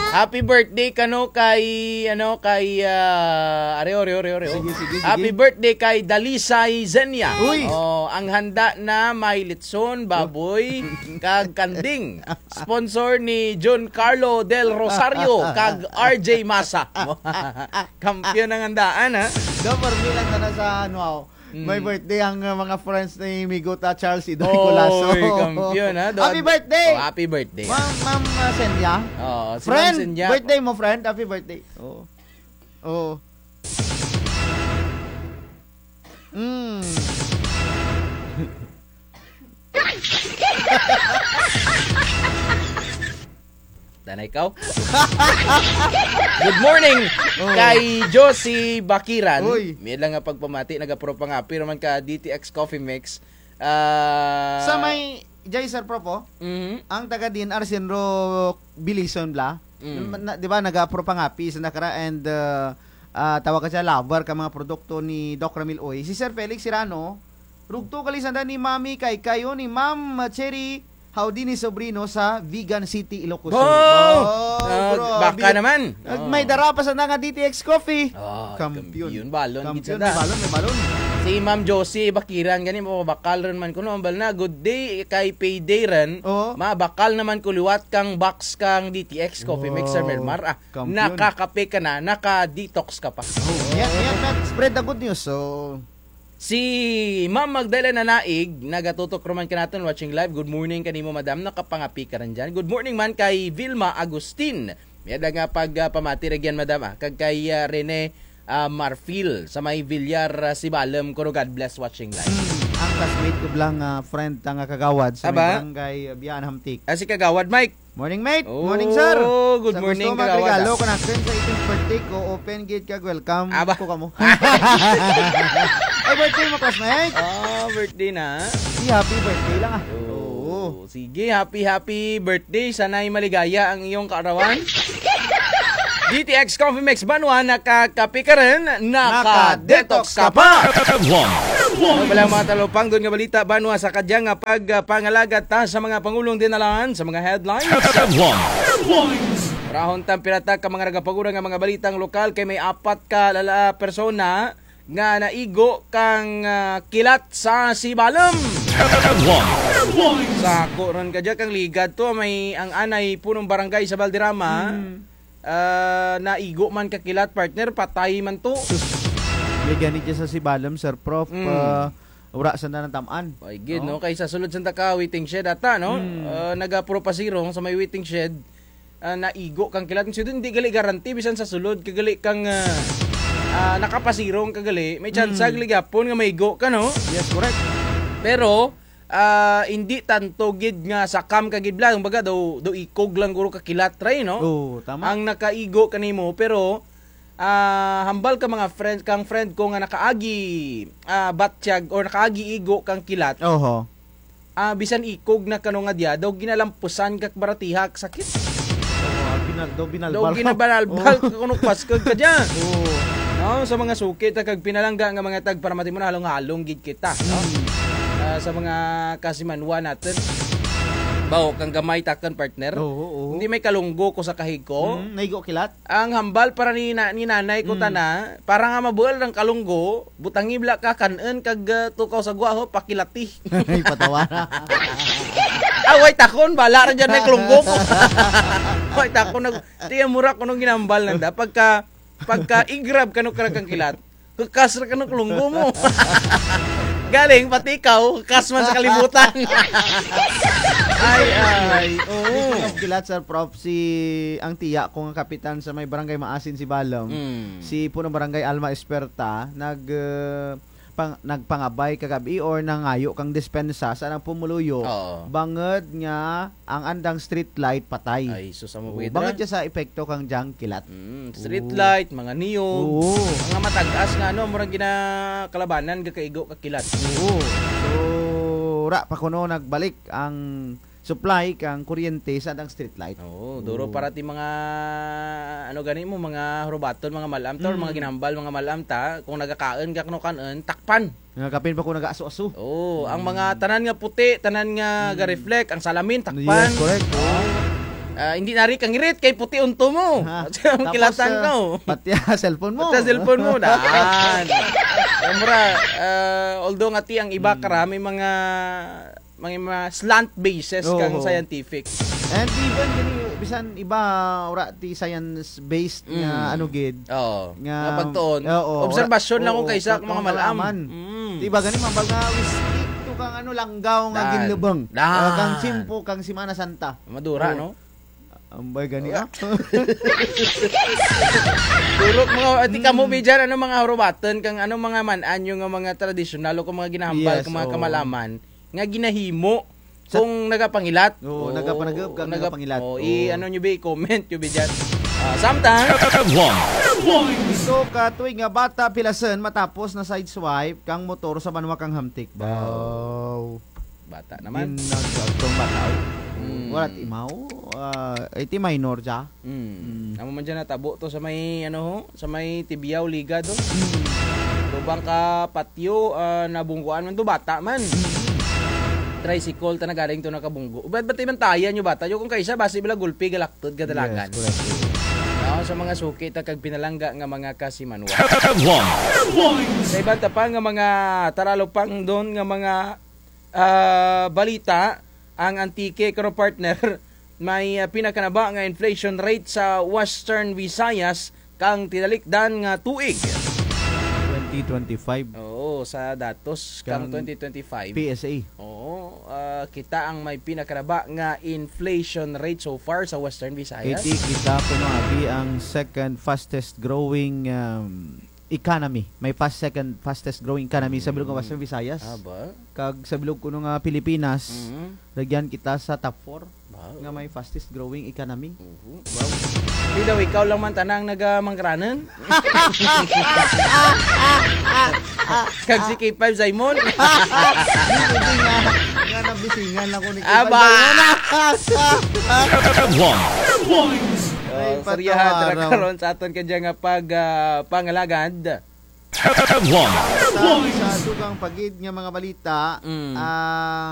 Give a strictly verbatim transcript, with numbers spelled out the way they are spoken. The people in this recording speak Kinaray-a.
Happy birthday kano kay, ano, kay, ah, areo, areo, areo, areo. Sige, sige, sige. Happy birthday kay Dalisay Zenia. Uy! Oh, ang handa na may litson, baboy, kag kanding. Sponsor ni John Carlo Del Rosario, kag R J Masa. Kampiyon ang handaan, ha? Do, for me lang na sa, ano, ako. Mm. May birthday ang, uh, mga friends ni Migo ta Charles Idoy Colaso. Oy, kampiyon, ha? Do, Happy birthday! Oh, happy birthday. Ma'am, Ma'am, uh, Senya. Oo, si Ma'am Friend, Senya. Birthday mo, friend. Happy birthday. Oo. Oo. Mm. Tana ikaw. Good morning kay Josie Bakiran. Uy. May lang nga pagpamati, nagapropa nga apil man ka D T X Coffee Mix. Ah, sa may Jay Sir Prof, oh, mhm, ang taga D N R Sinro Bilison bla. Mm. Na, na, di ba, nagapropa nga apil sa nakara and, uh, ah, tawag ka siya, lover ka mga produkto ni Doc Ramil Uy. Si Sir Felix Sirano, rugto kali sanda ni Mami Kay Kayo, ni Ma'am Cherry Howdy ni Sobrino sa Vigan City, Ilocos Sur. Oh! Oh, ah, bro, baka naman. May dara pa sanda nga D T X Coffee. Oh, kampiyon. Kampiyon balon, gid sanda. Balon, may balon. Si Ma'am Josie Bakiran gani, mabakal run man kuno, ambal na, good day, kay payday run. Oo. Mabakal naman ko liwat kang box kang D T X Coffee Mix, Sir Melmar. Ah, kampiyon. Nakakape ka na, naka-detox ka pa. Oh, yan, yan, spread the good news. So, si Ma'am Magdalena Naig, nagatutok ruman kanaton, watching live. Good morning kanimo, madam. Nakapangapi ka rin dyan. Good morning man kay Vilma Agustin. May ada nga pag, ah, pamati ra gyan, madam, ah. Kag kay, ah, Rene, ah, Marfil sa may Villar, ah, Sibalom, kuno God bless, watching live. Hmm, ang classmate ko bla nga, ah, friend ta nga kagawad sa may barangay, ah, Biyaan Hamtic. Ah, si Kagawad Mike. Morning, mate. Morning, sir. Oh, good morning, Kagawad. Sa gusto magregalo, kung sa eighteenth birthday ko, open gate kag welcome ko kamo. Ay, birthday mo, classmate? Oh, birthday na. Di, happy birthday lang, ah. Oh, oo. Sige, happy, happy birthday. Sana'y maligaya ang iyong kaarawan. D T X Coffee Mix, banwa, nakakapi ka rin, naka-detox ka pa. Headlines. Ano pala ang mga talupangdon nga balita, banwa, sa kadya nga pag, ah, pangalagat ta sa mga pangulong dinalaan sa mga headlines? Headlines. Rahon ta ang pirata ka mga nagapagura nga mga balitang lokal kay may apat ka lala-, persona nga naigo kang, ah, kilat sa Sibalom. Headlines. Sa ako run kadya kang ligad to, may ang anay punong barangay sa Valderrama. Hmm. Ah, naigo man ka kilat, partner, patay man to. Sus. May gani dyan sa Sibalom, Sir Prof. Mm. Ah, wara sanda natam-an. Ay, gid, no? Kay sa sulod sanda ka waiting shed ata, no? Mm. Ah, nagapropasirong sa may waiting shed, ah, naigo kang kilat. So, hindi gali garanti, bisan sa sulod, kagali kang, ah, ah, nakapasirong kagali, may tsansa gali gihapon nga maigo ka, no? Yes, correct. Pero, ah, indi tanto gid nga sakam ka gid bla, kumbaga daw, daw ikog lang guro ka kilat ra, no? Oo, tama. Ang nakaigo kanimo, pero, ah, hambal ka mga friend, kang friend ko nga nakaagi, ah, batyag or nakaagi igo kang kilat. Oho. Ah, bisan ikog na kano nga dya, daw ginalampusan ka baratihak sakit. Oo, ah, binal-, daw binalbal. Daw ginabalbal ka kuno paskag ka dya. Oo. No, sa mga suki ta kag pinalangga nga mga tagparamati mo na halong-halong gid kita, no? Mm. Ah, sa mga kasimanwa natun. Bawo kang gamay takun, partner. Oo, oo. Hindi may kalunggo ko sa kahig ko. Mm, naigo kilat? Ang hambal para ni na-, ni nanay ko tana, para nga mabuol ang kalunggo, butangi bala ka kan-un kag, ah, tukaw sa gwa ho, pakilati. Ay, patawa na. Ah, way takon, bala ra dyan may kalunggo ko. Way takon, nag-, tiyan mo ra kung anong ginambal nanda. Pagka, pagka i-grab kano kara kang kilat, kakas ra kano kalunggo mo. Galing, pati ikaw, kakas man sa kalibutan. Ay, ay, oo. Speaking of kilat, Sir Prof, si, ang tiya ko nga kapitan sa may barangay Maasin, Sibalom, mm, si punong barangay Alma Esperta, nag, eh, pang-, nagpangabay kagab-i or nangayo kang dispensa sa anang pumuluyo. Oo. Bangud nga ang andang street light patay. Ay, sus, amo. Oo, bangud dya sa epekto kang dyang kilat. Mm, street light, mga niyog. Oo. Mga matag-as nga, ano, murag ginakalabanan, gakaigo ka kilat. Oo. So, ra pa kuno nagbalik ang supply kang kuryente sa andang street light. Oo, duro para ti mga, ano gani mo, mga hurubaton, mga mal-am ta, or mga ginambal, mga mal-am ta, kung nagakaun ka kuno kan-un, takpan. Nga kapin pa ko nag-aso-aso. Oo, ang mga tanan nga puti, tanan nga ga-reflect, ang salamin, takpan. Yes, correct. Oo. Ah, hindi na rin kangirit kay puti unto mo. Ha? Kilatan ko. Pati ang cellphone mo. Pati ang cellphone mo, daan. Kaya mura, ah, although nga ti ang iba kara, may mga, may mga slant basis kang scientific. And even gani, bisan iba, ura ti science based nga ano gid. Oo. Nga pagtuon. Oo, obserbasyon lang kung kaysa mga malaman. Mm. Ti iba gani, mambal nga, we stick to kang ano, langgaw nga ginlubang. Daan. Ah, kang tiyempo, kang Semana Santa. Madura, no? Ambay gani, ah. Duro mga, ati kamo, Bijan, ano mga hurubatan kang ano mga man-an nga mga tradisyonal o kung mga ginahambal, kang mga kamalaman nga ginahimo kung nagapangilat. Oo, nagapanagap, kang nagapangilat. Oo, i-ano nyo bi, i-comment nyo bi dyan. Ah, samtang. Ito ka tuig nga bata pilasen matapos na sideswipe kang motor sa banwa kang Hamtic. Wow. Bata naman. Ginagagtong bata, oh. Mm. Wala ti imaw, ah, ay ti minor dya. Mm. Amo man dyan natabo to sa may, ano ho, sa may Tibiao, Ligad, oh. Tubang ka patio, ah, nabungguan man to, bata man. Tricycle, ta nagaring to nakabunggo. Ba't, ba't imantayan nyo bata nyo? Kung kaisa, basi bila gulpi, galaktot, gadalagan. Yes, correct. No, sa mga suki, ta kag pinalangga nga mga kasimanwa. Sa iban ta pa nga mga taralupang don nga mga ah, balita, ang Antique, karo partner, may, ah, pinakanaba nga inflation rate sa Western Visayas kang tinalikdan nga tuig. Twenty twenty-five. Oo, sa datos kang twenty twenty-five. P S A. Oo, ah, kita ang may pinakanaba nga inflation rate so far sa Western Visayas. Iti kita kuno abi ang second fastest growing, um, economy. May fast, second fastest growing economy sa bilog nga Western Visayas. Ah, ba? Kag sa bilog kuno nga Pilipinas, rugyan kita sa top four nga may fastest growing economy. Wow. Di daw ikaw lang man tana ang nagamangkranan? Kag si K five Simon? Hindi nga, nga nabisingan ako ni K five Simon. Aba! Ay, seryahan ta ra karon sa aton kadya nga pag, ah, pangalagad. Sa dugang pa gid nga mga balita, ah,